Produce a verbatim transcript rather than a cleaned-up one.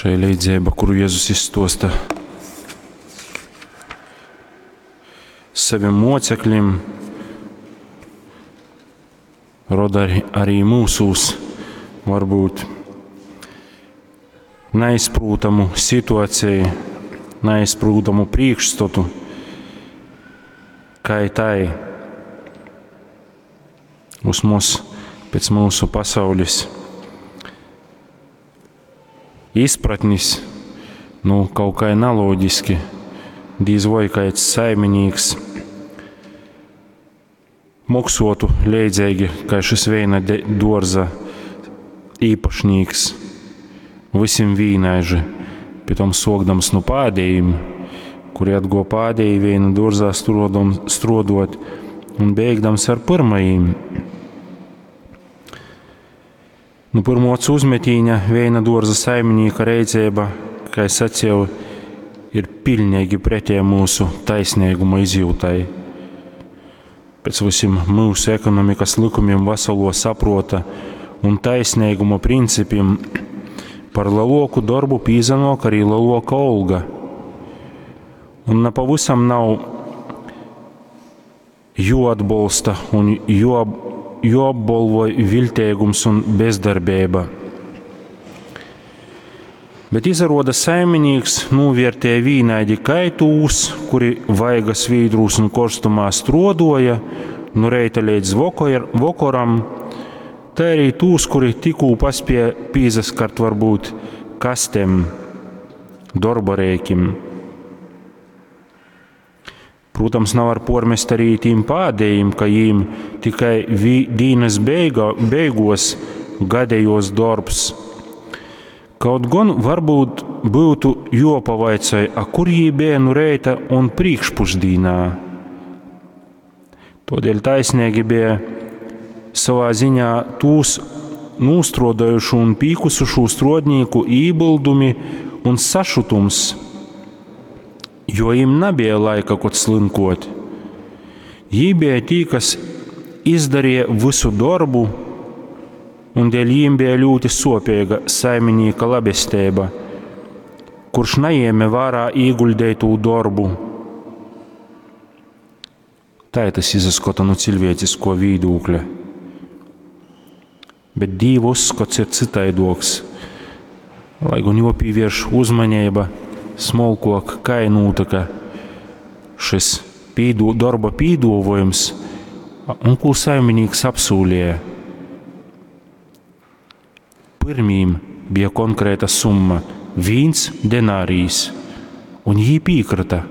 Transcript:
Šei leidzeiba, kuru Jezus izstuosta savim moceklim, roda arī, arī mūsūs varbūt neizprūtamu situāciju, neizprūtamu priekšstatu, kā tai uz mums pēc mūsu pasaules izpratnis, nu, kaut kā naloģiski, dīz voi kāds saiminīks moksotu leidzīgi, kā šis veina dōrza īpašnīks, visiem vīnaiži, pitom sokdams nu pādējim, kuri atgo pādēji veina dōrzā strodom, strodot un beigdams ar pirmajiem. Nu, pirmo acu uzmetīņa veina dōrza saiminīka reiceiba, kā es sacīju, ir pilnīgi pretēja mūsu taisnīguma izjūtai. Pēc visiem mūsu ekonomikas likumiem, veselo saprota un taisnīguma principiem par lielāku darbu pīzanok arī lielāka alga. Un ne pavisam nav joatbolsta un jo, joapbolvoj viltēgums un bezdarbība. Bet izaroda saiminīks novērtēja vīnaidi kaitūs, kuri vaigas vīdrūs un korstumā strodoja, nu reita līdz vokor, vokoram, tā arī tūs, kuri tikū paspēja pīzaskart varbūt kastem, darba rēkim. Protams, nav ar pormest arī tīm pādējiem, ka jīm tikai vi, dīnas beiga, beigos gadējos darbs. Kaut gan varbūt būtu jopavaicoj, a kur jī bija nu reita un priekšpušdīnā. Todēļ taisnīgi bija savā ziņā tūs nūstrodojušu un pīkusušu strodnīku ībildumi un sašutums, jo jim nebija laika kot slinkot. Jī bija tī, kas izdarīja visu darbu, un dēļ jīm bija ļoti sopīga saiminīka labestība, kurš neņēma vērā ieguldīto darbu. Tā ir tas izaskota no cilvēcisko vīdūkļa. Bet Dīva uzskats ir citaidoks, lai gan jopīvērš uzmanība smolkok, kā nūtaka šis pīdo, darba pīdovojums un ko saiminīks apsūlīja. Pirmīm bija konkrēta summa – viens denārijs, un jī piekrita.